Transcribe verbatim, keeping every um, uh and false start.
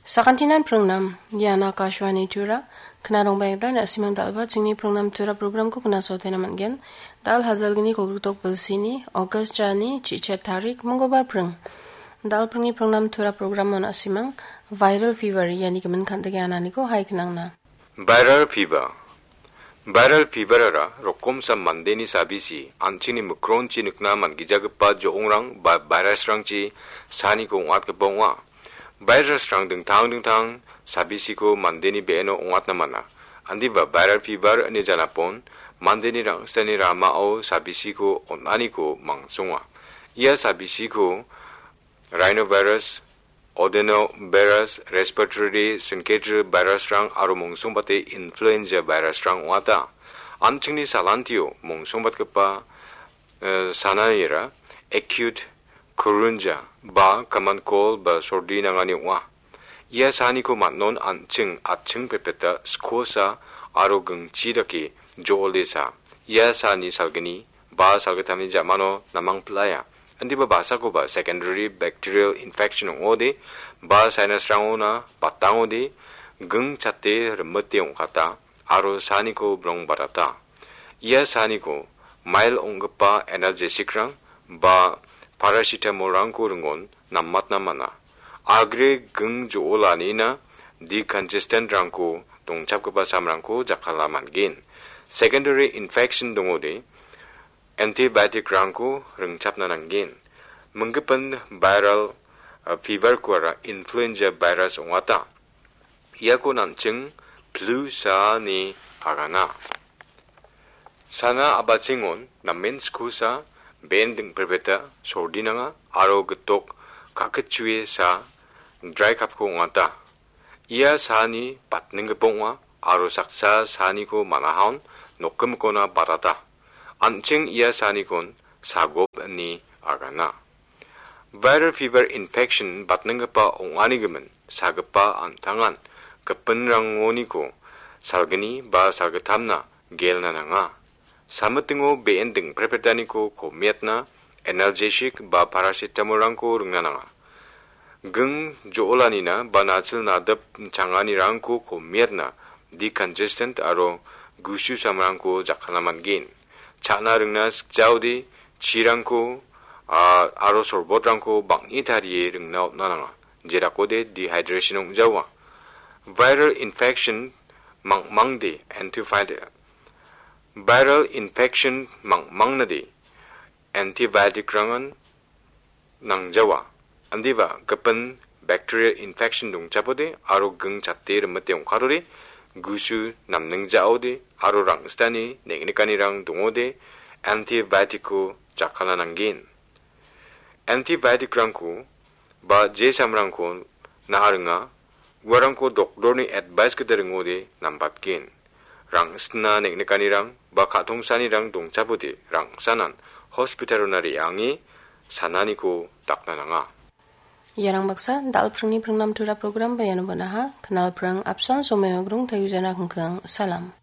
Sakantinan pringnam, ian Akashvani Tura, knarongba ekdal na·simang dal·ba chingni pringnam Tura programko knasotena man·gen. Dal hajalgni kolgritok bilsini, August jani, chichet tarik, mongolbar pring. Dal pringni pringnam Tura programon na·simang, viral fever, iani gimin kandege ananiko hai knangna. Viral fever. Viral fever-ara rokomsa mandeni sabisi, an·chingni mikronchi nikna man·gijagipa jo·ongrang ba virus-rangchi saniko ong·atgipa ong·a. Virus-rang dingtang dingtang sabisiko mandeni be·eno ong·atna man·a. Andiba viral fever ine janapon mandeni rang·sani ramao sabisiko on·aniko mangsonga. Ia sabisiko rhinovirus, adenovirus, respiratory syncytial virus-rang aro mongsongbate influenza virus-rang ong·ata. An·chingni salantio mongsongbatgipa, eh, sananira acute coronary ba common cold ba sordi nangani ong·a. Ia saniko man·on an·ching atching pepeta skosa aro gingchi dake jo·olesa. Ia sani salgni ba salgittamni jamano namang pil·aia. Indiba basakoba secondary bacterial infection ong·ode, ba sinus-rangona batangode, ging chate rimite ong·kata, aro saniko bilong batata. Ia saniko mild ong·gipa analgesic-rang ba paracetamol-rangko ringon nammatna man·a. Agre ging jo·olanina decongestant-rangko dongchapgipa samrangko jakkala man·gen. Secondary infection dongode, antibiotic-rangko ringchapna nanggen. Minggipin viral, uh, fever-koara influenza virus ong·ata. Iako an·ching flu sa ine agana. Sana a·bachengon namen skosa, ben dingprepeta sordi nanga aro gitok ka·kitchue sa dry cough-ko ong·ata. Ia sani batninggipa ong·a aro saksa saniko man·ahaon nokgimikona batata. An·ching ia sanikon sagop ine agana. Viral fever infection batninggipa ong·ani gimin sagipa an·tangan gipinrangoniko salgni ba salgittamna gelna nanga. Samitingo be·en dingprepretaniko komiatna analgesic ba paracetamol-rangko ringna nanga. Ging jo·olanina ba nachil nadip changanirangko komiatna decongestant aro gusu samrangko jakkalna man·gen. Cha·na ringna sikjaode chirangko, a, aro sorbotrangko bang·e tarie ringna on·na nanga. Jedakode dehydration ong·jawa. Viral infection mangmangde antibiotic Viral infection mangmangnade antibiotic-rangan nangjawa. Indiba gipin bacterial infection dongchapode aro ging chate rimite ong·katode, gusu namningjaode aro rang·sitani neng·nikanirang dongode antibiotic-ko jakkalna nanggen. Antibiotic-rangko ba je samrangko na·a ringa, uarangko doktorni advice gita ringode nambatgen. Rang·sina neng·nikanirang ba ka·tongsanirang dongchapode rang·sanan hospital-ona re·ange sananiko dakna nanga. Iarang baksa dal·pringni pringnam tura program ba iano banaha, knal pring apsan someo grung tayujana kengkeng. Salam.